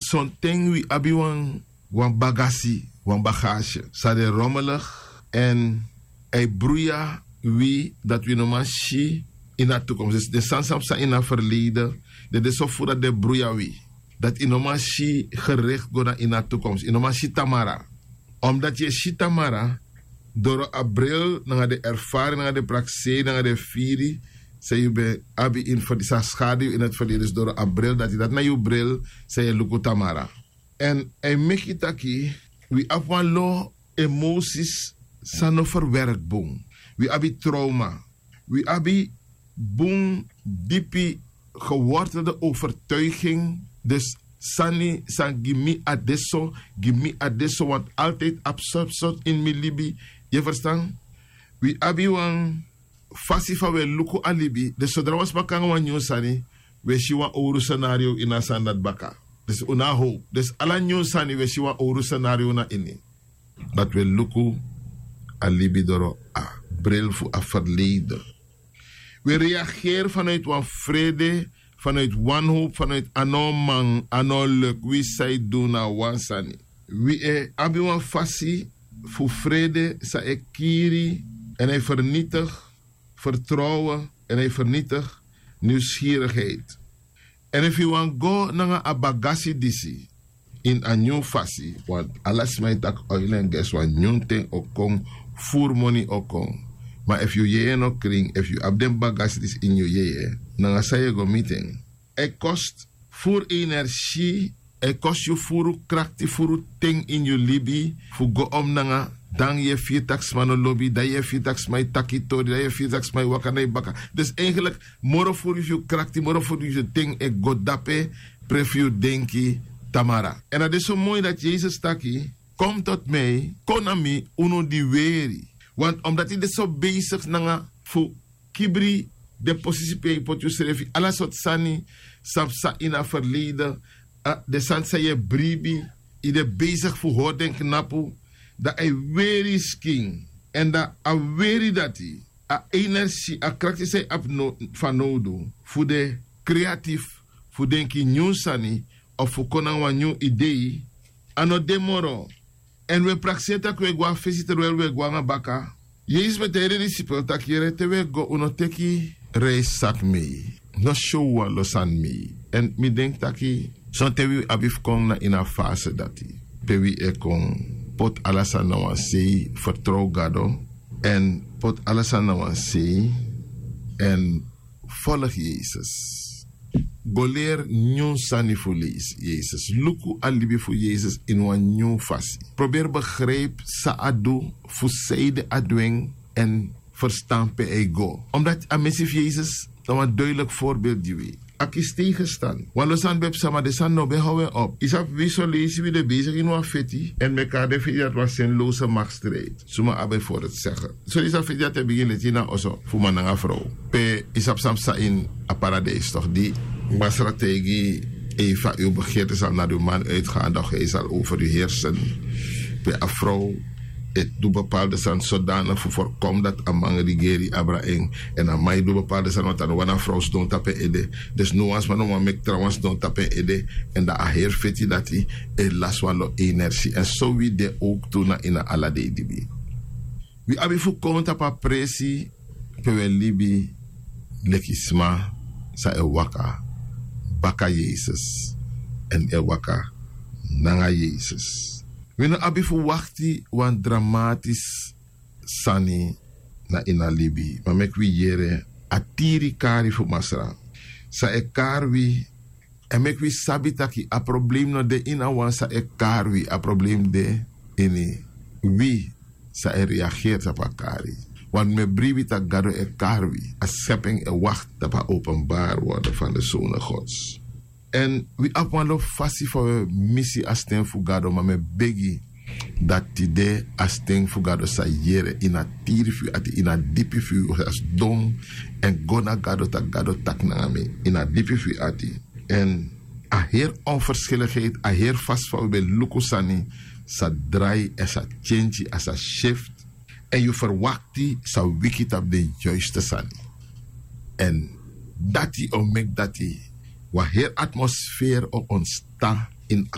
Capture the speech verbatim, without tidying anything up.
Sonten wi abi wan wan bagasi, wan bagasi san de romelig, èn a e bruya wi dati wi no man si ini a tukomsi. Den sani san psa ini a ferleide, den de so furu dati den bruya wi, dati yu no man si gerikti go na ini a tukomsi, yu no man si tamara. Omdati yu e si tamara doro a bril nanga den erfari nanga den prakseri nanga den firi san yu ben abi ini ferdi san skadu yu ini a ferdi dus doro a bril dati dati na yu bril san yu e luku tamara. Èn a e meki taki wi abi wan lo emosis san no ferwerki bun. Wi abi trowma. Wi abi bun dipi gewortelde overtuiging. Dus sani san gi mi a de so, gi mi a de so want altidi abi sortu sortu ini mi libi. Yu e ferstan? Wi abi wan fasi fa wi e luku a libi. Dus sodra wan sma kon nanga wan nyun sani, wi e si wan owru senario ini a sani dati baka. Dus un no a how. Dus ala nyun sani wi e si wan owru senario na ini. Dati wi e luku a libi doro a bril fu a ferleide. Wi e reageri fanowiti wan frede, fanowiti wanhowpu fanowiti a no man a no leki wi san e du na wan sani. Wi e abi wan fasi fu frede san e kiri èn a e fernitigi fertrowen èn a e fernitigi niwskirigheid. Èn efu yu wani go nanga a bagasi disi ini a nyun fasi, want ala sma e taki oil èn gesi wan nyun ten o kon, furu moni o kon. Ma efu yu yeye no krin efu yu abi den bagasi disi ini yu yeye, nanga san yu e go miti en? A e kosti furu energi, a e kosti yu furu krakti furu ten ini yu libi fu go omi nanga. Dan yu e firi tak' sma no lobi dan yu e firi tak' sma e taki yu tori dan yu e firi tak' sma e waka na yu baka. Dus eigenlik moro furu fu yu krakti moro furu fu yu ten e go dape, pre fu yu denki tamara. Èn a de so moi dati yesus taki, kon mi toti mi kon na mi unu di weri. Want omdati de so beisigi nanga fu kibri den posisi pe yu poti yusrefi ala sortu sani san psa ini a ferleide, den sani san yu e bribi, yu de beisigi fu hori den knapu, dan a e weri yu skin. Èn dan a weri dati a enersi a krakti san yu abi fanowdu fu de kreatif fu denki nyun sani of fu kon nanga wan nyun idei. A no de moro. Èn wi e prakseri tak' wi e go na fesi terwel wi e go nanga baka. Yesus ben taigi den disipel tak' yere te wi e go un no teki reisi saki mei, no si un wan lo sani mei. Èn mi denki tak' sonten wi abi fu kon na ini a fase dati pe wi e kon poti ala sani na wan sei, fertrow gado èn poti ala sani na wan sei èn folgi yesus. Go leri nyun sani fu yesus luku a libi fu yesus ini wan nyun fasi. Proberi begripi san a du, fu sanede a du en èn ferstan pe a e go. Omdati a mesi fu yesus na wan duideliki forbeeld gi wi. A kisi tegenstand wan lo sani ben psa ma den sani no ben how en op yu sabi wi so leisi wi de besigi ini wan feti èn meki a de feti dati wan seni lowse makstrijd suma abi en fori sege. So yu sabi feti dati e bigin leti ini a oso fu man nanga frow pe yu sabi san psa ini a paradeis tok' di masra taigi yu efu a yu begeerte sani na di man uitgaan dan yu sali over yu hersen. Pe a frow e du bepaalde sani sodanik fu forkomi dati a man rigeri abra en. Èn a man e du bepaalde sani want a no wani a frow sidon tapu en ede. Dus no wan sma no man meki trawan sidon tapu en ede. Èn dan a heri feti dati e lasi wan lo enersi èn so wi de owk tu na ini a ala dei dibi. Wi abi fu kon tapu a presi pe wi e libi leki sma san e waka baka yesus èn e waka nanga yesus. Wi no abi fu wakti wan dramatis sani na ini a libi ma meki wi yere a tiri kari fu masra san e kari wi. Èn meki wi sabi taki a problem no de ini a wan san e kari wi a problem de ini wi san e reageri tapu a kari. Want mi e bribi tak' gado e kari wi a skepi en e wakti tapu a openbari worden fan de sone gods. Èn wi abi wan lo fasi fa wi e misi a sten fu gado ma mi e begi dati tide a sten fu gado sa yere ini a tiri fu yu ati ini a dipi fu yu sa sidon èn go na gado tak' gado taki nanga mi ini a dipi fu yu ati. Èn a heri onferskelikheid a heri fasi fa wi ben luku sani sa drai èn sa tyentyi a sa syift èn yu ferwakti sa wiki tapu den yuiste sani. Èn dati o meki dati wan heri atmosferi o ontsta ini a